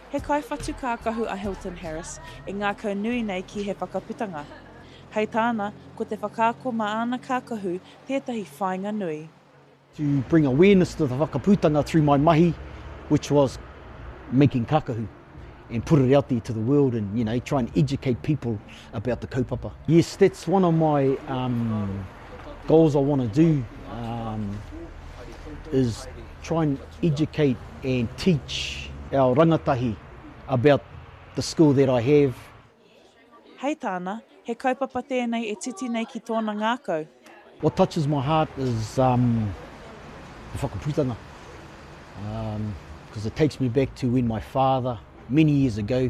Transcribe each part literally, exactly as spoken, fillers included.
He kaiwhatu kākahu a Hilton Harris e ngākau nui nei ki He Whakaputanga. Hei tāna, ko te whakaako mā āna kākahu tētahi whāinga nui. To bring awareness to the whakaputanga through my mahi, which was making kakahu and put it out there to the world and you know try and educate people about the kaupapa. Yes, that's one of my um, goals I want to do um, is try and educate and teach our rangatahi about the skill that I have. Hei tāna, he kaupapa tēnei e titi nei ki tōna ngākau. What touches my heart is um, the whakaputanga. Because um, it takes me back to when my father, many years ago,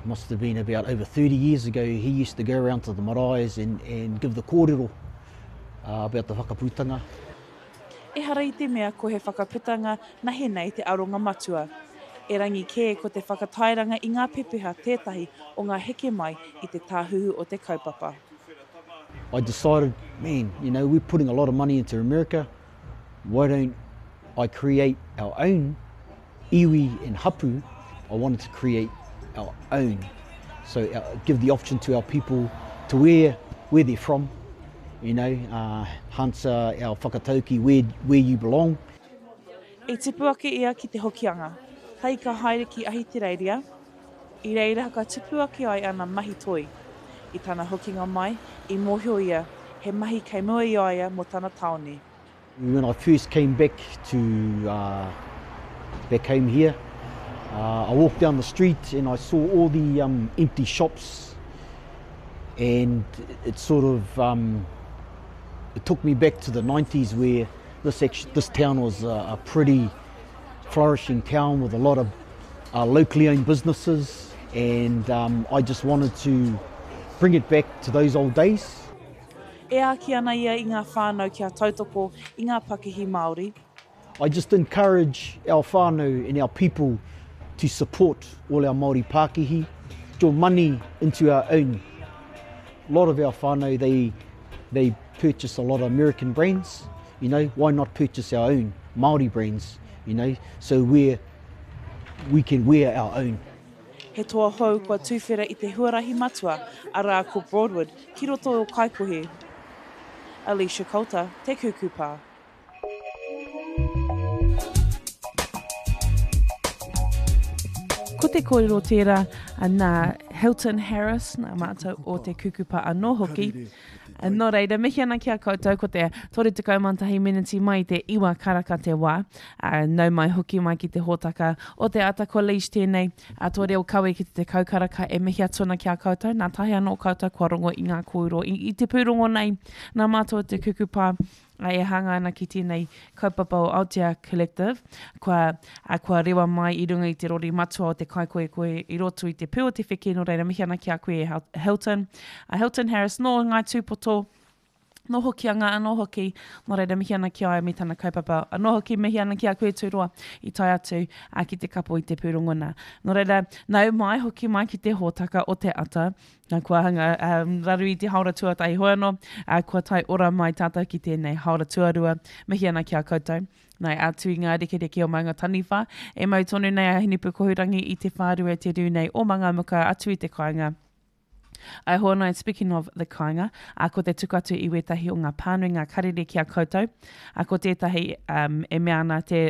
must have been about over thirty years ago, he used to go around to the maraes and, and give the kōrero uh, about the whakaputanga. Ehara i te mea ko He Whakaputanga nahe nei te aronga matua. Erangi kē ko te whakatairanga i ngā pepeha tētahi o ngā heke mai i te tāhuhu o te kaupapa. I decided, man, you know, we're putting a lot of money into America, why don't I create our own iwi and hapu? I wanted to create our own. So uh, give the option to our people to wear where they're from, you know, uh, Hansa, our whakatauki, where, where you belong. I tipu ake ia ki te Hokianga, hei ka haere ki Ahitereiria, i reira ka tupu ake ai ana mahi toi. I tana hokinga mai, i mōhio ia, he mahi kei mua i a ia mō tana tāone. When I first came back to uh, back home here, uh, I walked down the street and I saw all the um, empty shops, and it sort of um, it took me back to the nineties where this actually, this town was a, a pretty flourishing town with a lot of uh, locally owned businesses, and um, I just wanted to bring it back to those old days. E āki ana ia i ngā whānau kia tautoko i ngā pakihi Māori. I just encourage our whānau and our people to support all our Māori pakihi, your money into our own. A lot of our whānau, they, they purchase a lot of American brands, you know, why not purchase our own Māori brands, you know, so we're, we can wear our own. He toa hou kua tuwhera i te huarahi matua, arā ko Broadwood, ki roto o Kaikohe. Alicia Coulter, Te Kukupa. Ko te kōrero tērā nā Hilton Harris, nā mātou o Te Kukupa anō hoki. Nō reira, mihi ana ki a koutou, ko te toru tekau mā tahi meneti mai i te iwa karaka te wā. Nau mai hoki mai ki te hōtaka o te ata ko Leish tēnei, a tō reo kawe ki te tekau karaka e mihi atu ana ki a koutou. Nā tahi anō koutou kua rongo i ngā kōrero i, i te pūrongo nei, nā mātou o Te Kukupa e hanga ana ki tēnei kaupapa o Aotea Collective, kua, a, kua rewa mai i runga i te rori matua o te Kaikohekohe i roto i te pū o te wheke, nō reira mihi ana ki a koe e Hilton. A Hilton Harris nō Ngāi Tūpoto, nō Hokianga anō hoki, nō reira mihi ana ki a ia me tana kaupapa anō hoki, mihi ana ki a koe Tūroa i tae atu a, ki te kapo i te pūrongo nā. Nō reira, nau mai hoki mai ki te hōtaka o te ata, nā kua hanga um, raru i te haora tuatahi hoi anō, uh, kua tae ora mai tātou ki tēnei haora tuarua, mihi ana ki a koutou. Nai atu i ngā rekereke o Maunga Taniwha, e mau tonu nei a Hinepukohurangi i te whārua te rū nei o Mangamuka atu i te kāinga. Ai hoa nei, speaking of the kāinga, a ko te tuku atu i wētahi o ngā pānui ngā karere ki a koutou, a ko tētahi um, e mea ana te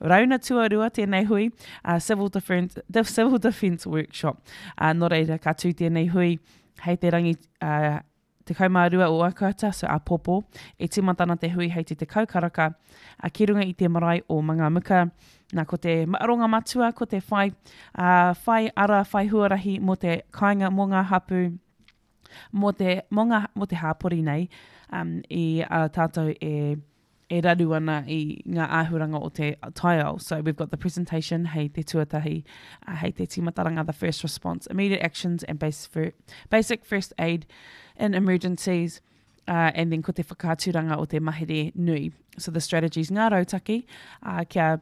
rauna tuarua tēnei hui, uh, Civil Defence, the Civil Defence Workshop. Uh, nō reira, ka tū tēnei hui hei te rangi uh, tekau mā rua o Akuata, so āpōpō, e tīmata ana te hui hei te tekau karaka, a ki runga i te marae o Mangamuka. Nā, ko te aronga matua, ko te whai, uh, whai ara, whai huarahi mō te kāinga, mō ngā hapū, mō te, mō ngā, mō te hāpori nei, um, i a tātou e, e raru ana i ngā āhuranga o te taiao. So we've got the presentation hei te tuatahi, uh, hei te tīmataranga, the first response, immediate actions and base fir-, basic first aid in emergencies, uh, and then ko te whakaaturanga o te mahere nui. So the strategies, ngā rautaki, uh, kia,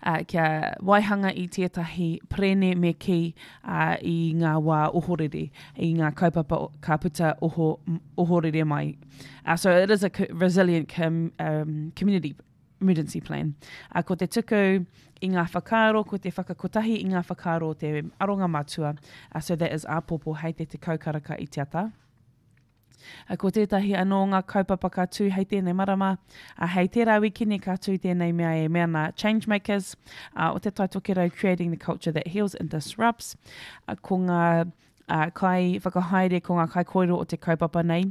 uh, kia waihanga i tētahi prene me ki, uh, i ngā wā ohorere, i ngā kaupapa o-, ka puta oho, ohorere mai. Uh, so it is a co-, resilient com-, um, community emergency plan. Uh, ko te tuku i ngā whakaaro, ko te whakakotahi i ngā whakaaro te aronga matua. Uh, so that is āpōpō hei te tekau karaka i te ata. Uh, ko tētahi anō ngā kaupapa ka tū hei tēnei marama, uh, hei tērā wikini ka tū tēnei mea e mea nā Changemakers, uh, o te Tai Tokerau Creating the Culture That Heals and Disrupts. Uh, ko ngā uh, kai whakahaere, ko ngā kai kōrero o te kaupapa nei,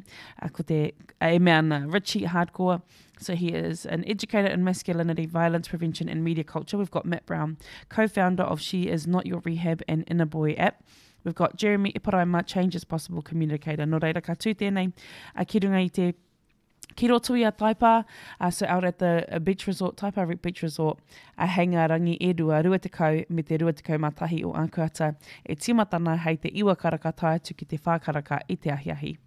uh, ko te uh, e mea ana Richie Hardcore. So he is an educator in masculinity, violence prevention and media culture. We've got Matt Brown, co-founder of She Is Not Your Rehab and Inner Boy app. We've got Jeremy Eparaima, Change is Possible communicator. Nō reira ka tū tēnei, uh, ki runga i te ki roto i a Taipa, uh, so out at the uh, beach resort, Taipa Beach Resort, a hei ngā rangi e rua, rua tekau me te rua tekau mā tahi o Ākuhata, e tīmatana hei te iwa karaka tae atu ki te whā karaka i te ahiahi.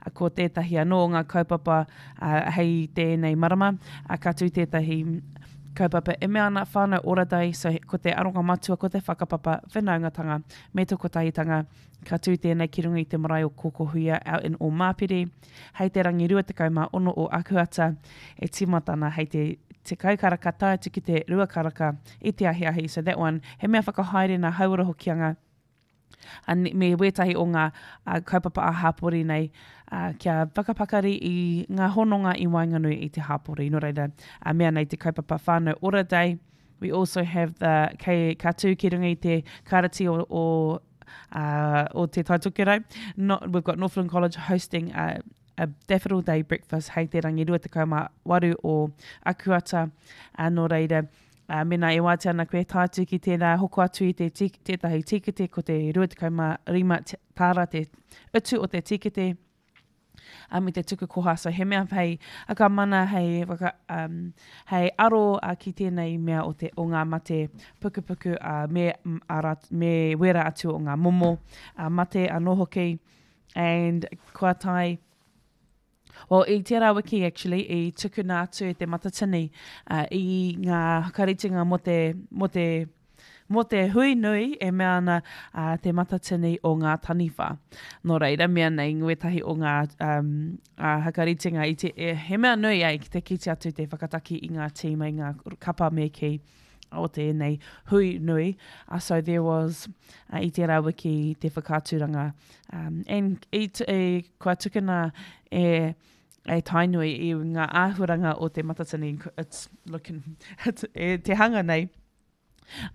Uh, ko tētahi anō o ngā kaupapa uh, hei tēnei marama, uh, ka tū tētahi kaupapa e mea ana Whānau Ora Day, so ko te aronga matua, ko te whakapapa, whanaungatanga, me te kotahitanga, ka tū tēnei ki runga i te marae o Kōkōhuia out in Ōmāpere, hei te rangi rua tekau mā ono o Akuata, e tīmatana hei te tekau karaka tae atu ki te rua karaka i te ahiahi. So that one, he mea whakahaere nā Hauora Hokianga, a me wētahi o ngā uh, kaupapa a hāpori nei, uh, kia whakapakari i ngā hononga i waenganui i te hāpori. Nō reira, uh, mea nei te kaupapa Whānau Ora Day. We also have the kei ka tū ki runga i te kārati o, o, uh, o te Tai Tokerau. No, we've got Northland College hosting a, a Daffodil Day breakfast hei te rangi rua tekau mā waru o Akuata. Uh, nō reira, Uh, mena e wātea ana koe tae atu ki tērā hoko atu i te tīk, tētahi tīkete, ko te rua tekau mā rima tāra te utu o te tīkete, uh, me te tuku koha. So he mea hei whakamana, hei, whaka, um, hei aro uh, ki tēnei mea o, te, o ngā mate pukupuku uh, me, ara, me wera atu o ngā momo uh, mate anō hoki. And kua tae, Well, i tērā wiki, actually, i tukuna atu e te Matatini uh, i ngā whakaritenga mō te, mō te, mō te hui nui e mea ana uh, te Matatini o ngā taniwha. Nō reira, mea nei ngētahi o ngā um, uh, whakaritenga i te, e, he mea nui ai ki te kite atu te whakataki i ngā tīma, i ngā kapa me ki o tēnei hui nui. Uh, so there was uh, i tērā wiki te whakaaturanga. Um, and i, e, kua tukuna e, e Tainui i ngā āhuranga o te Matatini. It's looking, it's, e, te hanga nei.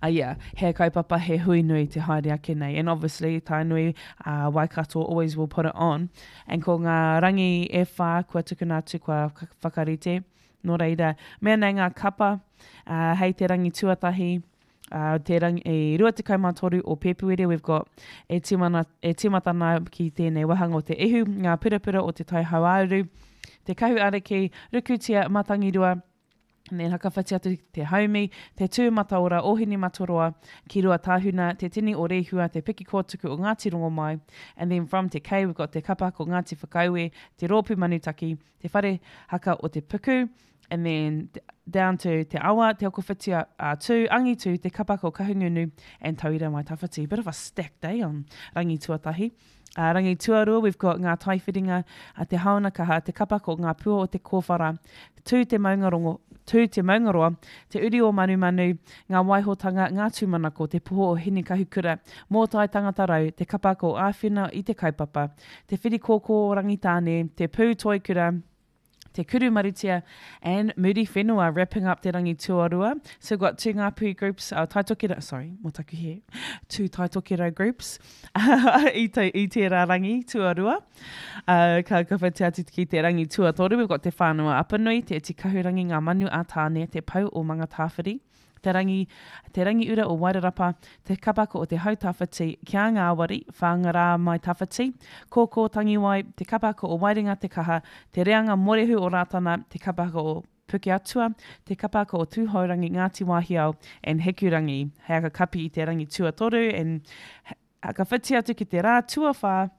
Uh, yeah, he kaupapa, he hui nui te haere ake nei. And obviously, Tainui, uh, Waikato always will put it on. And ko ngā rangi e whā kua tukuna atu kua whakarite. Nō reira, mea nei ngā kapa, uh, hei te rangi tuatahi, uh, te rangi, e rua tekau mā toru o Pēpuere, we've got e timana, e timatana ki tēnei wahanga o te ihu, ngā purapura o te tai hauāuru, te kahu ariki, rukutia matangirua, and then hakawhati atu te haumi, te tū mataora o Hinematoroa, ki rua tāhuna, te tini o Rehua, te piki kōtuku o Ngāti Rongomai, and then from te K, we've got te kapa ko Ngāti Whakaue, te rōpū manutaki, te whare haka o te puku, and then down to te awa, te okowhitia uh, tū, angitu, te kapa ko Kahungunu, and Tauira Mai Tawhiti. Bit of a stacked day on rangi tuatahi. Uh, rangi tuarua, we've got ngā taiwhiringa, uh, te haona kaha, te kapa ko ngā pua o te kōwhara, tū te maungarongo, tū te maungaroa, te uri o Manumanu, ngā waihotanga, ngā tūmanako, te poho o Hinekahukura, mōtai tangata rau, te kapa ko āwhina i te kaupapa, te whiri kōkō o Rangitāne, te pū toikura, te kuru marutia, and Muri Whenua, wrapping up te rangi tuarua. So we've got two Ngāpuhi groups, uh, Tai Tokerau, sorry, mō taku he, two Tai Tokerau groups i, te, i tērā rangi tuarua. Uh, ka kawhiti atu ki te rangi tuatoru, we've got te whānau Apanui, te Iti Kahurangi, ngā manu a Tāne, te pau o Mangatāwhiri, te rangi, te rangi ura o Wairarapa, te kapako o te hau tawhiti, kia ngāwari, whāngarā mai tawhiti, kōkō tangiwai, te kapako o Wairinga te kaha, te reanga morehu o Rātana, te kapako o Pukeatua, te kapako o Tūhourangi, Ngāti Wāhiao, and Hikurangi. Hei aka kapi i te rangi tuatoru, and ka whiti atu ki te rā tuawhā,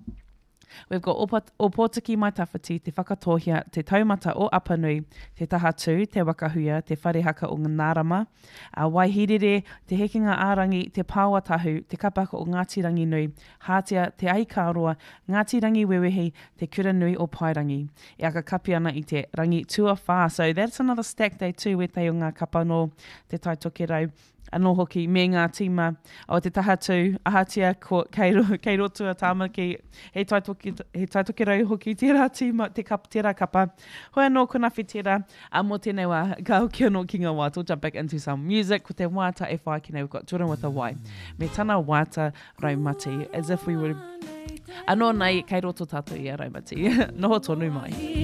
We've got Ōpōtiki Mai Tawhiti, Te Whakatōhea, Te Taumata o Apanui, Te Tahatū, Te Wakahuia, Te Whare Haka o Ngārama, a Waihirere, Te Hekenga ā-Rangi, Te Pāoatahu, Te Kapahaka o Ngāti Ranginui, Hātea, Te Ahikāroa, Ngāti Rangiwewehi, Te Kura Nui o Paerangi. E aka kapi ana i te rangi tuawhā. So that's another stack day too, wētahi o ngā kapa nō Te Tai Tokerau anō hoki me ngā tīma o Te Tahatū, ahatia ko, kei, ro, kei roto a Tāmaki, he Tai, Toki, he Tai Tokerau hoki tērā tīma, te kap, tērā kapa. Hoi anō ko Nawhi tērā, a mō tēnei wā, ka hoki anō ki ngā wāta, we'll jump back into some music, ko te wāta e whai ake nei, we've got Jordan with a Y, me tana wāta raumati, as if we were, anō nei, kei roto tātou i a raumati, noho tonu mai.